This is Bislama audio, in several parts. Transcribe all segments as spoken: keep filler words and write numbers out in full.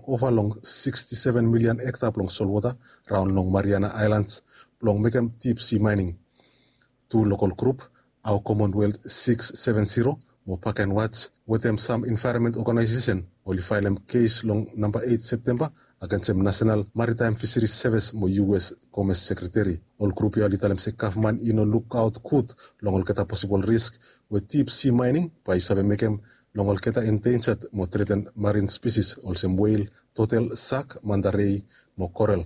ova long sixty-seven million hekta blong solwota raon long Mariana Islands blong mekem deep sea mining. Tu lokal grup, Our Commonwealth six seven zero mo Park and Watch wetem sam environment organization oli faelem kes long namba eight Septemba agensem National Maritime Fisheries Service mo U S Commerce Secretary. Ol grup ya oli talem se gavman i no lukaot gud long olgeta posibol risk we deep sea mining bae i save mekem long olgeta endangered mo threatened marine species olsem whale, turtle, shark, manta ray mo coral.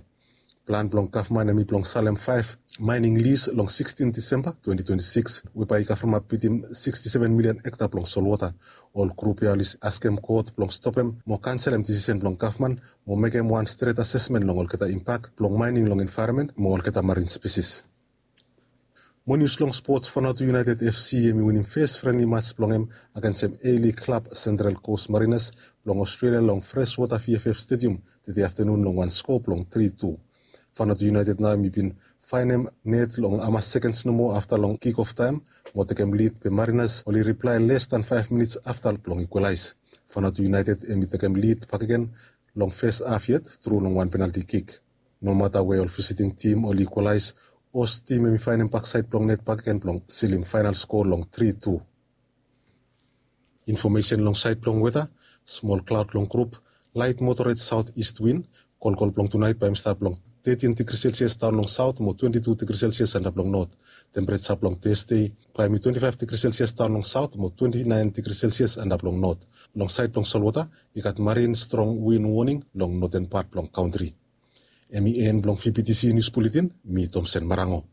Plan blong gavman hemi blong salem five mining lease long sixteen Disemba twenty twenty-six we bae i kavremap bitim sixty-seven million hekta blong solwota. Ol grup ya oli askem kot blong stopem mo kanselem disisen blong gavman mo mekem wan stret asesmen long olgeta impak blong mining long envaeronmen mo olgeta marine species. Mo nius long spots, Vanuatu United F C hemi winim fes frenli mats blong hem agensem A-League klab Central Coast Mariners blong Australia long Freshwater V F F Stadium tede aftenun long wan skoa blong tri tu. Vanuatu United nao hemi bin faenem net long hamas sekens nomo afta long kick-off taem mo tekem lid, be Mariners oli riplae les dan faef minits afta blong ikwalaes. Vanuatu United hemi tekem lid bakegen long fes haf yet tru long wan penalti kik. Nomata we ol visiting tim oli ikwalaes, host tim hemi faenem baksaed blong net bakegen blong silim faenal skoa long tri tu. Infomesen long saed blong weta, smol klaod long grup, laet moderate south east wind. Kolkol blong tunaet bae hemi stap long thirteen degri Celsius daon long saot mo twenty-two degri Celsius antap long not. Tempereja blong Tasde bae hemi twenty-five degri Celsius daon long saot mo twenty-nine degri Celsius antap long not. Long saed blong solwota, i gat marin strong wind warning long noten pat blong kantri. Hemi en blong V B T C News Bulletin, mi Thomson Marango.